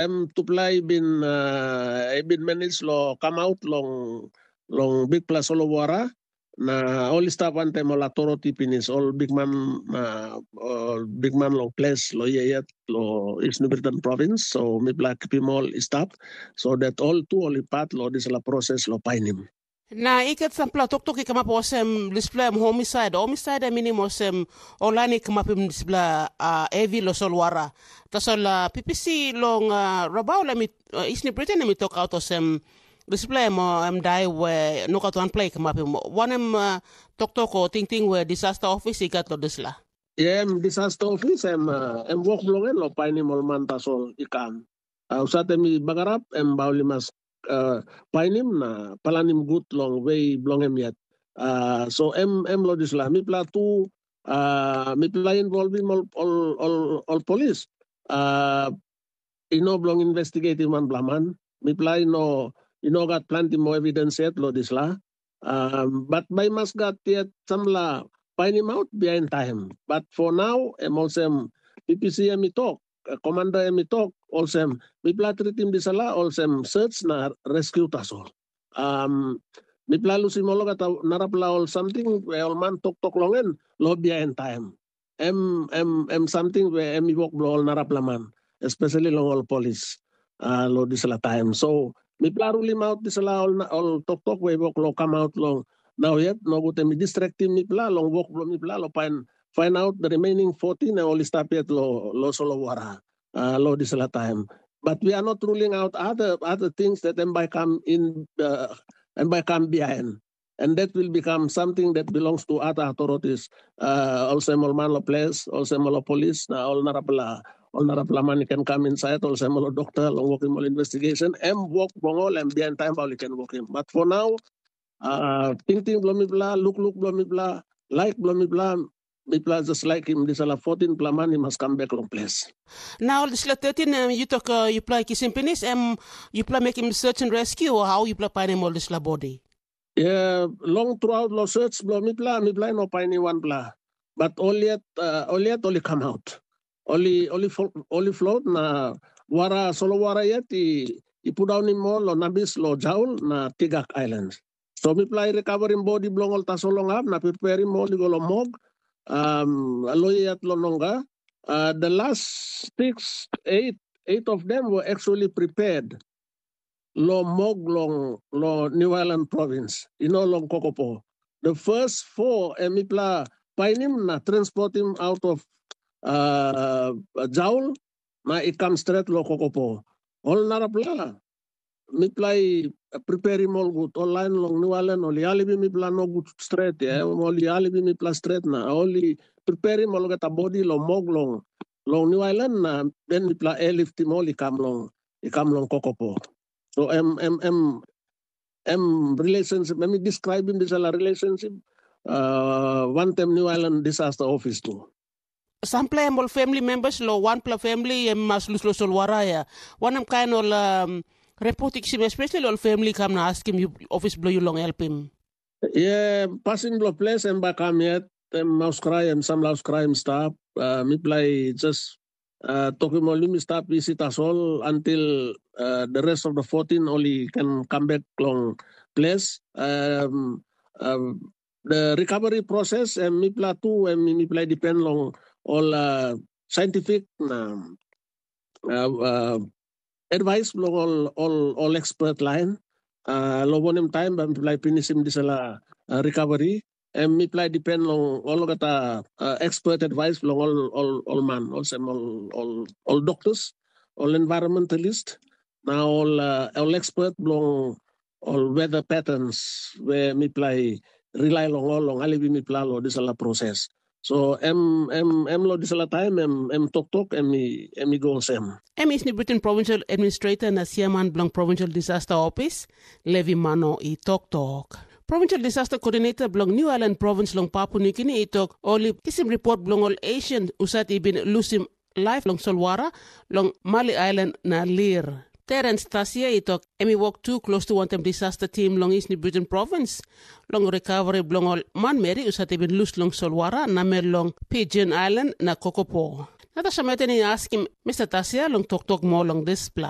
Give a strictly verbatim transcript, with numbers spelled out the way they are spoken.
em tupela i bin uh, i bin manage lo kamaut long long bikpela solowara, na ol i stap wantaim ol authority pinis, ol bikman uh, ol bikman long ples lo ia yet lo East New Britain province. So mipela kipim ol i stap, so that ol tu ol i pat lo dispela proses lo painim. Na i gat sampela toktok i kamap olsem dispela em homisaid. Homisaid em minim olsem ol lain i kamapim dispela uh, hevi lo solwara. Tasol uh, P P C long uh, Rabaul em i uh, East New Britain em i tokaut olsem dispela em uh, em dai we nogat wanpela i kamapim. Wanem uh, toktok o tingting we disaster office i gat lo dispela? Yeah, em disaster office em uh, em wok bilong en lo painim ol man tasol i kam. Uh, usat em i bagarap em bai ol i mas uh, painim na planim gut long we bilong em yet. Uh, so em em lo dispela mipela tu uh, mipela involvim ol ol ol, ol polis. Uh, i no bilong investigatim wanpela man. Mipela i no i no gat planti moa evidens yet long dispela. Um, but bai mas gat yet sampela painimaut bihain taim. But for now, em olsem P P C em i tok, komanda em i tok, olsem mipela tritim dispela olsem search na rescue tasol. Um, mipela lusim olgeta narapela ol samting we ol man toktok long en lo bihain taim. Em em em samting we em i wok bilong ol narapela man, especially long ol polis uh, long dispela taim. So mipela rulim aut dispela ol, ol toktok we i wok long kamaut long nau yet, nogut em i distraktim mipela long wok bilong mipela long pain find out the remaining fourteen na ol i stap yet lo lo solowara uh, lo dispela taim. But we are not ruling out other other things that em bai kam in uh, em bai kam behind. And that will become something that belongs to other authorities. Uh, olsem ol man lo ples, olsem ol polis, na ol narapela ol narapela man i ken kam insait, olsem ol dokta long wokim ol investigation. Em wok bilong ol em bihain taim bai ol i ken wokim. But for now, uh, tingting bilong mipela, lukluk bilong mipela, laik bilong mipela, mipela just laikim dispela fourteen pela man i mas kam bek long ples. Na ol dispela thirteen em yu tok uh, yupela kisim pinis, em yupela mekim search and rescue o how yupela painim ol dispela bodi? Yeah, long throughout lo search bilong mipela, mipela i no painim wanpela. But ol yet uh, ol yet ol i come out. Ol i ol i flo- ol i float na wara solowara yet i i pudaunim ol lo nabis lo Jaul na Tigak Island. So mipela i recoverim bodi bilong ol tasol long hap na preparim ol i go long mog. Um, lo yet lo nonga. Uh, the last six, eight, eight of them were actually prepared lo mog long lo New Ireland province, you know, long Kokopo. The first four em mipela painim na transportim out of uh, Jaul na i kam stret lo Kokopo. Ol narapela mipela i preparim ol gut, ol lain long New Ireland ol i alivim mipela nogut stret, ya, ol i alivim mipela stret na ol i preparim olgeta bodi long mog long long New Ireland na den mipela airliftim ol i kam long i kam long Kokopo. So em em em em relationship, em i describim dispela relationship uh, wantem New Ireland disaster office tu. Sampela em ol family members lo wanpela family em mas lus lo solwara ya. Wanem kain ol um, report i kisim especially ol family kam na askim yu ofis bilong yu long helpim? Yeah, pasin bilong ples em bai kam yet, em maus krai, em samlaus krai em stap. Uh, mipela i just uh, tokim ol yumi stap isi tasol until uh, the rest of the fourteen ol i can come back long ples. Um, um, the recovery process em mipela tu em mipela i depend long ol uh, scientific na uh, uh, advice bilong ol ol ol expert lain uh, long wanem taim bai mipela i pinisim dispela uh, recovery. Em mipela i depend long olgeta uh, expert advice bilong ol ol ol man, olsem ol ol ol doctors, ol environmentalist, na ol uh, ol expert bilong ol weather patterns we mipela i rely long ol long alivim mipela long dispela proses. So em em em long dispela taim em em toktok em i em i go olsem. Em is ni Britain Provincial Administrator na Chairman bilong Provincial Disaster Office, Levi Mano i toktok. Provincial Disaster Coordinator bilong New Ireland Province long Papua New Guinea i tok ol i kisim ripot bilong ol Asian husat i bin lusim laip long solwara long Mali Ailan na Lir. Terence Tasia i tok em i wok tu klostu wantaim disaster tim long East New Britain Province long rikaveri bilong ol manmeri husat i bin lus long solwara namel long Pigeon Ailan na Kokopo. Na tasol met i askim Mr. Tasia long toktok moa long dispela.